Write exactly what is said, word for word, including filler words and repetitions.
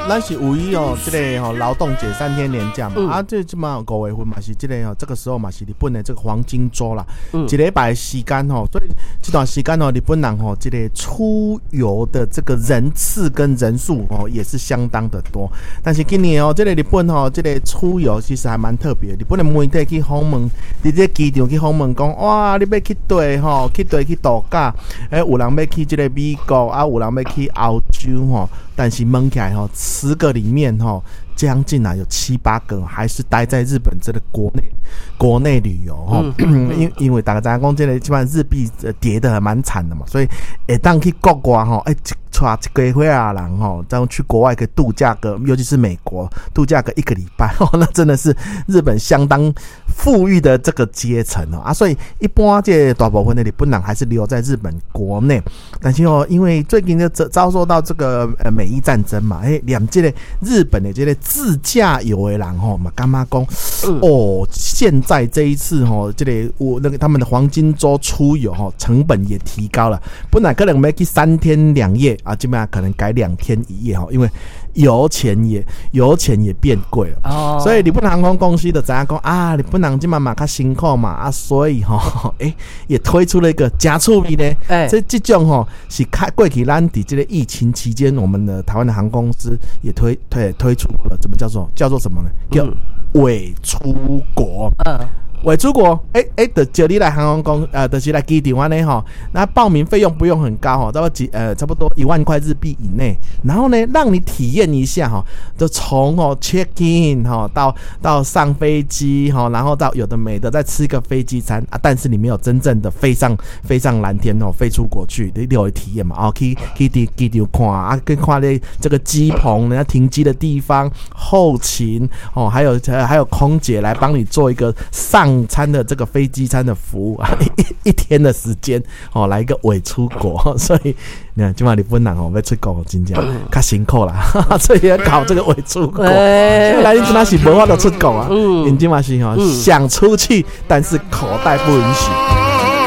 咱是五一哦，這个吼勞動節三天連假嘛，嗯啊，這這馬五月份嘛是這个吼，這個時候嘛是日本的這個黃金週啦，嗯一禮拜的時間吼，所以這段時間哦，日本人吼，這个出遊的這個人次跟人數哦，也是相當的多。但是今年哦，這个日本吼，這个出遊其實還蠻特別。日本的媒體去訪問，佇這個機場去訪問，講哇，你欲去佗吼，去佗去度假，欸，有人欲去這个美國，啊，有人欲去歐洲吼，但是問起來吼，十個裡面吼，將近啊有七八個還是待在日本這個國內國內旅遊吼，因因為大家知影講這个這擺日幣跌得蠻慘的嘛，所以會當去國外吼，欸，一帶一家伙仔人吼，這樣去國外去度假個，尤其是美國度假個一個禮拜，那真的是日本相當富裕的這個階層哦啊，所以一般這大部分的日本人還是留在日本國內，但是哦，因為最近就遭遭受到這個呃美伊戰爭嘛，欸，連這个日本的這个自駕遊的人吼嘛，感覺講哦，現在這一次吼，這個我那個他們的黃金週出遊吼，成本也提高了，本來可能欲去三天兩夜啊，這擺可能改兩天一夜吼，因為油錢也油錢也變貴了，哦，所以日本航空公司就知影講啊，日本人這擺嘛較辛苦嘛啊，所以吼，欸，也推出了一個誠趣味呢，欸，這這種吼是開過去咱佇這個疫情期間，我們的台灣的航空公司也推推推出了，怎麼叫做叫做什麼呢？叫偽出國。嗯。偽出國，欸欸，就招你來航空公，呃，就是來機場按呢吼，那報名費用不用很高吼，差不多幾呃，差不多一萬塊日幣以內。然後呢，讓你體驗一下哈，就從哦 check in 哈到到上飛機哈，然後到有的沒的再吃一個飛機餐啊，但是你沒有真正的飛上飛上藍天哦，飛出國去，你有體驗嘛？哦，去去佇機場看啊，去看咧這個機棚，人家停機的地方，後勤哦，還有還有空姐來幫你做一個上餐的這個飛機餐的服務啊，一一天的時間哦，來一個偽出國，所以你看，這擺日本人哦，欲出國真正較辛苦啦，所以要搞這個偽出國。來，你這擺是無法度出國啊，𪜶這擺是吼想出去，但是口袋不允許。